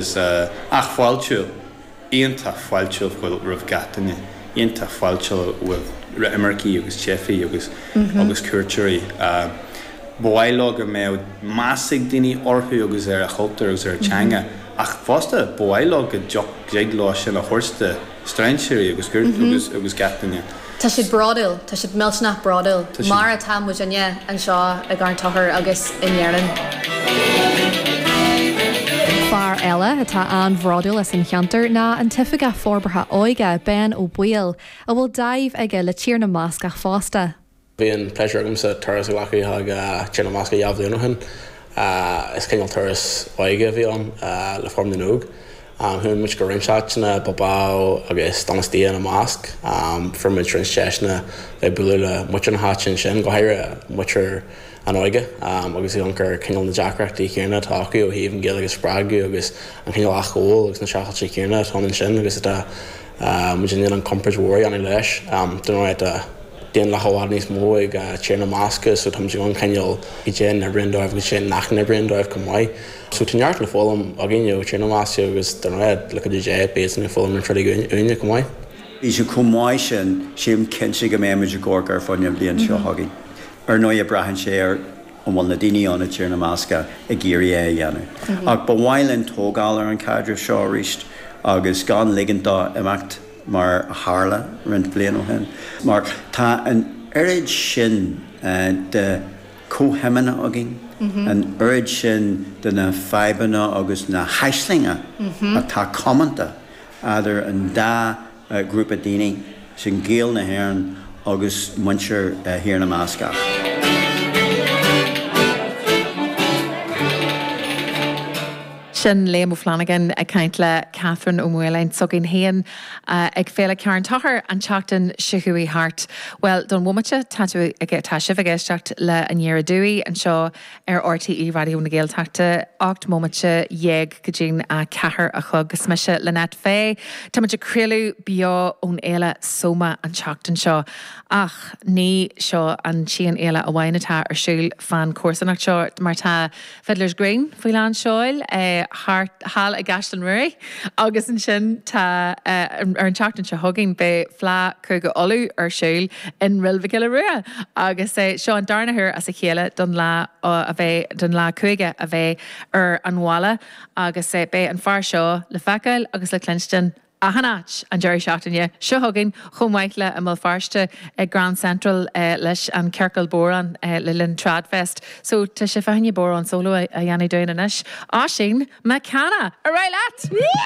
Ach fáiltiúil, iontach fáiltiúil roimh gach duine, iontach fáiltiúil roimh imircigh agus teifigh agus agus cuairteoirí. Ba mhaith leo go mbeadh meas ag daoine orthu agus ar a chultúr agus ar a teanga ach fosta ba mhaith leo go dtig leo sin a thabhairt do strainséirí agus agus agus gach duine. Tá siad bródúil, tá siad millteanach bródúil, mar atá muidinne anseo i gCarn Tochair agus in Éirinn. Fear eile atá an-bhródúil as an cheantar ná an tOifigeach Forbartha Óige, Ben Ó Baoill, a bhfuil dáimh aige le Tír na mBascach fosta. Bhí an pléisiúr agamsa turas a ghlacadh chuig Tír na mBascach 2 bhliain ó shin. Is cineál turas óige a bhí ann le Fóram na nÓg. Chuaigh muid go roinnt áiteanna, Bilbao agus Donostia ina measc. Fuair muid roinnt deiseanna bheith bualadh le muintir na háite ansin, go háirithe muintir an óige agus ag amharc ar cineál na deacrachtaí céanna atá acu ó thaobh an Ghaeilge a spreagadh agus an cineál athghabháil agus na streachailte céanna atá ann ansin agus atá muid in ann an comparáid mhór a dhéanamh leis. Dar ndóigh tá daonlathas i bhfad níos mó ag Tír na mBascach so táimid in ann cineál cad é a n-oibríonn dóibh agus cad é nach n-oibríonn dóibh chomh maith. So tá neart le foghlaim againn ó Tír na mBascach agus dar ndóigh le cuidiú Dé beidh iadsan ag foghlaim roinnt rudaí uainne chomh maith. Bhí sé chomh maith sin, sílim cinnte go mbeidh muid i gCorcaigh ar fud na bliana seo chugainn. Ar ndóigh braitheann sé ar an bhfuil na daoine ann i dTír na mBascach ag iarraidh é a dhéanamh. Ach ba mhaith linn tógáil ar an chaidreamh seo arís agus gan ligint dó imeacht mar a tharla roinnt bliain ó shin. Mar tá an oiread sin de chomhshuimeanna againn, an oiread sin de na fadhbanna agus na haislinge atá comónta eadar an dá ghrúpa daoine, sin Gaeil na hÉireann agus muintir Thír na mBascach. Sin Liam Ó Flanagan ag caint le Catherine Ó Maoláin s'againn féin ag Féile Charn Tóchair an tseachtain seo chuaigh thart. Bhuel, don bhomaite, tá tú ag, tá sibh ag éisteacht le Aniar Aduaidh anseo ar RTÉ Raidió na Gaeltachta, 18 mbomaite go dtí'n 4 a chlog. Is mise Lynette Fay. Tá muid ag craoladh beo ón fhéile Soma an tseachtain seo. Ach ní seo an t-aon fhéile amháin atá ar siúl fán chomharsanacht seo mar tá Fiddler's Green faoi lán seoil thart thall i gCaisleán Ruairí agus ansin tá ar an tseachtain seo chugainn beidh Fleadh Cúige Uladh ar siúl i nDroichead Mhic Giolla Rua agus seo an darna huair as a chéile don fhleadh a bheidh don fhleadh cúige a bheidh ar an bhaile agus beidh an fear seo le feiceáil agus le cluinstin achan áit an deireadh seachtaine seo chugainn chomh maith le i mBéal Feirste ag Grand Central leis an Ciorcal Bodhrán le linn Tradfest. So tá sé fá choinne bodhrán solo a dhéanamh dúinn anois. Oisín McCanna! Ar aghaidh leat!